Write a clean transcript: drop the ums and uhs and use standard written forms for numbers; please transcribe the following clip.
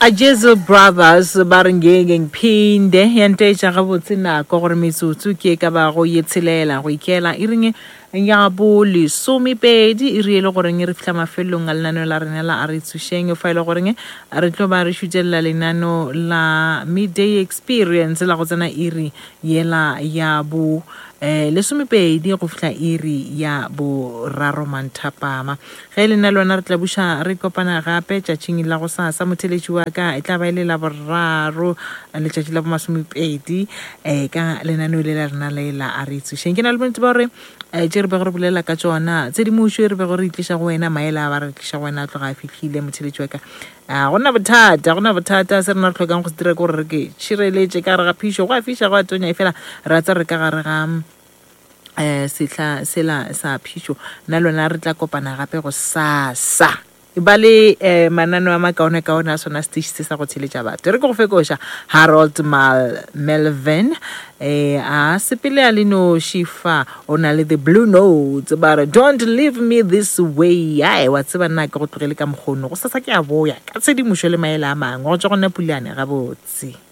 A Jesu Brothers ba re ngeke ngiphinde ya ntaetša gabotse nako gore metsotso ke e ka bago ye tshelela go ikela iring ya bo lesomepedi iri e le goreng re fihla mafelelong a lenaneo la rena la a re tsošeng fa e le goreng re tlo ba re šutelela lenano la midday experience la go tsena iri yela ya bo eh, lesomepedi go fihla iri ya boraro manthapama Ge e le nna le wena re tla buša re kopana gape tšatšing la gosasa. Motheeletši wa ka, e tla ba e le Laboraro, letšatši la bomasomepedi, um ka lenaneo le la rena le la A Re Tsošeng. Ke na le bonnete ba gore um tše re bego re bolela ka tšona, tshedimošo e re bego re e tliša go wena, maele a ba re tliša go wena a tloga a fihlile, motheeletši wa ka. A go na bothata, go na bothata. Se rena re hlokang go se dira ke gore re ke tšhireletše ka gare ga phišo. Go a fiša, go a tonya, efela re a tseba re ka gare ga um sehla sela sa phišo. Nna le wena re tla kopana gape gosasa. E ba le um mananeo a makaonekaone a sona setiši se sa go theletša batho. Re ke go fekoša Harold Mal Melvin um a sepele a le noši fa o na le the Blue Notes ba re don't leave me this way. Ae wa tseba nna ke go tlogele ka mokgono. Gosasa ke a boya ka tshedimošo le maele a mangwe go tšwa go nna Pulane gabotse.